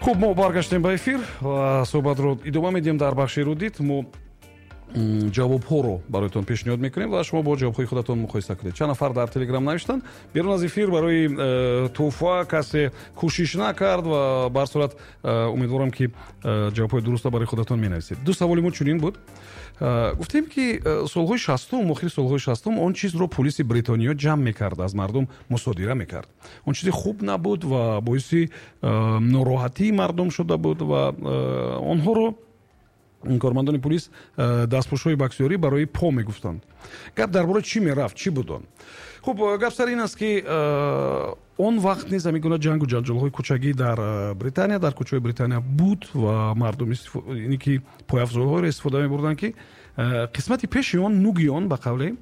Хуб, мо баргаштем ба эфир ва суҳбатро идома медиҳем. Дар бахши Эрудит мо ҷавобҳоро бароятон пешниҳод мекунем ва шумо бо ҷавобҳои худатон муқоиса кунед. Чанд нафар дар Телеграм навиштанд, берун аз эфир барои тӯҳфа касе кӯшиш накард ва ба ҳар сурат умедворам, ки ҷавобҳои дурустро барои худатон менависед. Ду саволи мо чунин буд. Гуфтем, ки солҳои 60-ум, охири солҳои 60-ум он чизро пулиси Бритониё ҷамъ мекард, аз мардум мусодира мекард. Он чизи хуб набуд ва боиси нороҳатии мардум шуда буд ва онҳоро кормандони пулис дастпӯшҳои боксёрӣ барои по мегуфтанд. Гап дар бораи чӣ мерафт, чӣ буд он? Хуб, гап сар ин аст, ки он вақт низ ҳамин гуна ҷангу ҷанҷолҳои кӯчагӣ дар Британия, дар кӯчаҳои Британия буд ва мардум ине ки пойафзолҳоеро истифода мебурданд, ки қисмати пеши он, нуги он, ба қавле,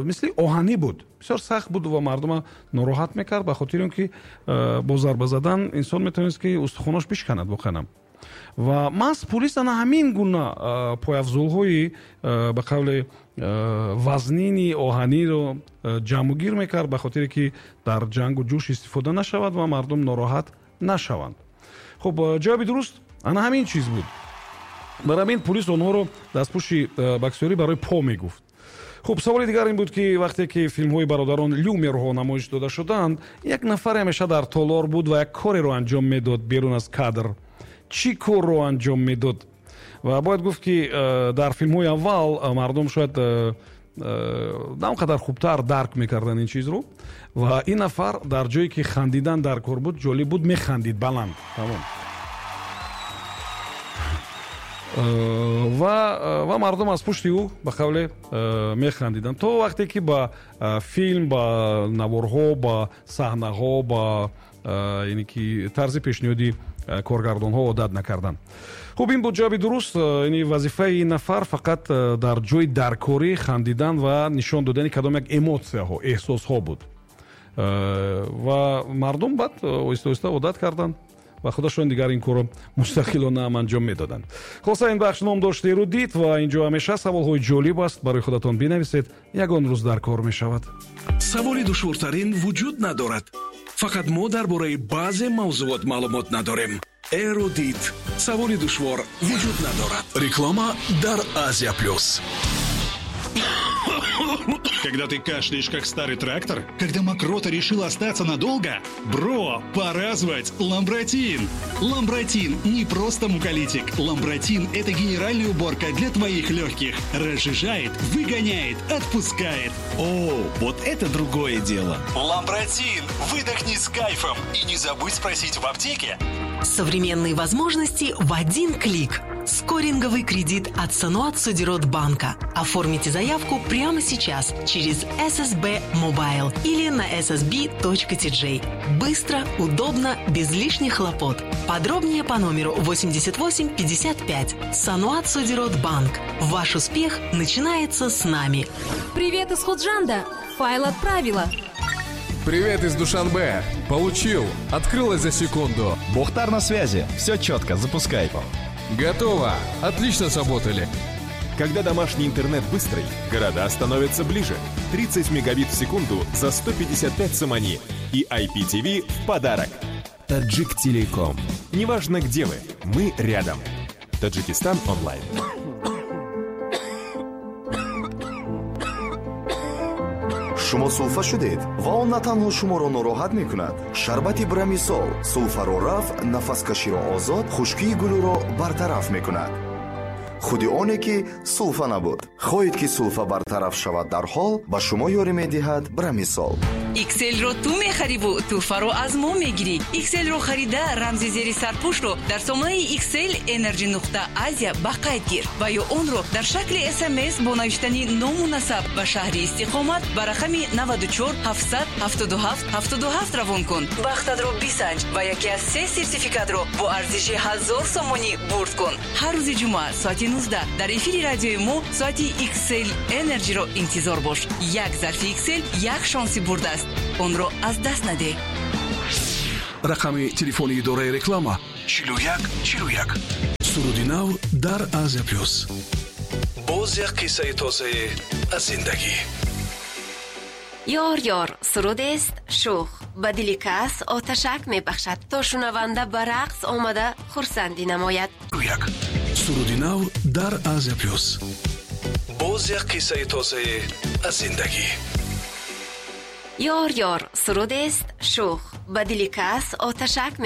мисли оҳанӣ буд, бисёр сахт буд ва мардума нороҳат мекард, ба хотири он ки бо зарба задан инсон метавонист, ки устухонаш бишканад воқеан. Ва маҳз пулис ана ҳамин гуна пойафзолҳои, ба қавле, вазнини оҳаниро ҷамъугир мекард, ба хотире ки дар ҷангу ҷӯш истифода нашавад ва мардум нороҳат нашаванд. Хуб, ҷавоби дуруст ана ҳамин чиз буд. Бар ҳамин пулис онҳоро дастпӯши боксёрӣ барои по мегуфт. Хуб, саволи дигар ин буд, ки вақте ки филмҳои бародарон Люмерҳо намоиш дода шуданд, як нафаре ҳамеша дар толор буд ва як кореро анҷом медод берун аз кадр. Чӣ корро анҷом медод? Ва бояд гуфт, ки дар филмҳои аввал мардум шояд на он қадар хубтар дарк мекарданд ин чизро ва ин нафар дар ҷое ки хандидан дар кор буд, ҷолиб буд, механдид баланд, тамом, ва мардум аз пушти ӯ, ба қавле, механдиданд, то вақте ки ба филм, ба наворҳо, ба саҳнаҳо, ба яъне ки тарзи пешниҳоди коргардонҳо одат накарданд. Хуб, ин буд ҷавоби дуруст. Яъне вазифаи ин нафар фақат дар ҷои даркорӣ хандидан ва нишон додани кадом як эмотсияҳо, эҳсосҳо буд ва мардум баъд оҳиста оҳиста одат карданд ва худашон дигар ин корро мустақилона ҳам анҷом медоданд. Хулоса, ин бахш ном дошт Эрудит ва инҷо ҳамеша саволҳои ҷолиб аст. Барои худатон бинависед, ягон рӯз дар кор мешавад. Саволи душвортарин вуҷуд надорад, фақат мо дар бораи баъзе мавзӯот маълумот надорем. Эрудит. Саволи душвор вуҷуд надорад. Реклама дар Азия Плюс. Когда ты кашляешь, как старый трактор? Когда мокрота решила остаться надолго? Бро, пора звать Ламбратин! Ламбратин не просто муколитик. Ламбратин – это генеральная уборка для твоих легких. Разжижает, выгоняет, отпускает. О, вот это другое дело. Ламбратин! Выдохни с кайфом и не забудь спросить в аптеке. Современные возможности в один клик. Скоринговый кредит от Саноат Содирот Банка. Оформите заявку прямо сейчас через SSB Mobile или на ssb.tj. Быстро, удобно, без лишних хлопот. Подробнее по номеру 88 55. Саноат Содирот Банк. Ваш успех начинается с нами. Привет из Худжанда. Файл отправила. Привет из Душанбе. Получил. Открылось за секунду. Бухтар на связи. Все четко. Запускай. Готово. Отлично сработали. Когда домашний интернет быстрый, города становятся ближе. 30 мегабит в секунду за 155 сомони. И IPTV в подарок. Таджик Телеком. Неважно, где вы, мы рядом. Таджикистан онлайн. Шумо сулфа шудед ва он на танҳо шуморо нороҳат мекунад. Шарбати Брамисол сулфаро рафъ, нафаскаширо озод, хушкии гулӯро бартараф мекунад. Худи оне ки сулфа набуд. Хоҳед, ки сулфа бартараф шавад дарҳол, ба шумо ёрӣ медиҳад Брамисол. Икселро ту мехариву тӯҳфаро аз мо мегирӣ. Икселро харида, рамзи зери сарпӯшро дар сомонаи Иксел Energy нуқта Азия ба қайд гир ва ё онро дар шакли СМС бо навиштани ному насаб ва шаҳри истиқомат ба рақами 94 777 77 равон кун. Бахтатро бисанҷ ва яке аз се сертификатро бо арзиши 1000 сомонӣ бурд кун. Ҳар рӯзи ҷумъа соати 19 дар эфири радиои мо соати Иксел Энерҷиро интизор бош. Як зарфи Иксел як шонси бурд аст, онро аз даст надеҳ. Рақами телефони идораи реклама: 41 41. Суруди нав дар Азия Плюс. Боз як қиссаи тозае аз зиндагӣ. Ёр, ёр, сурудест шӯх. Ба дили кас оташак мебахшад, то шунаванда ба рақс омада хурсандӣ намояд. Як суруди нав дар Азия Плюс. Боз як қиссаи тозае аз зиндагӣ. Ёр, ёр сурудест шӯх, ба дили кас оташак мебахшад.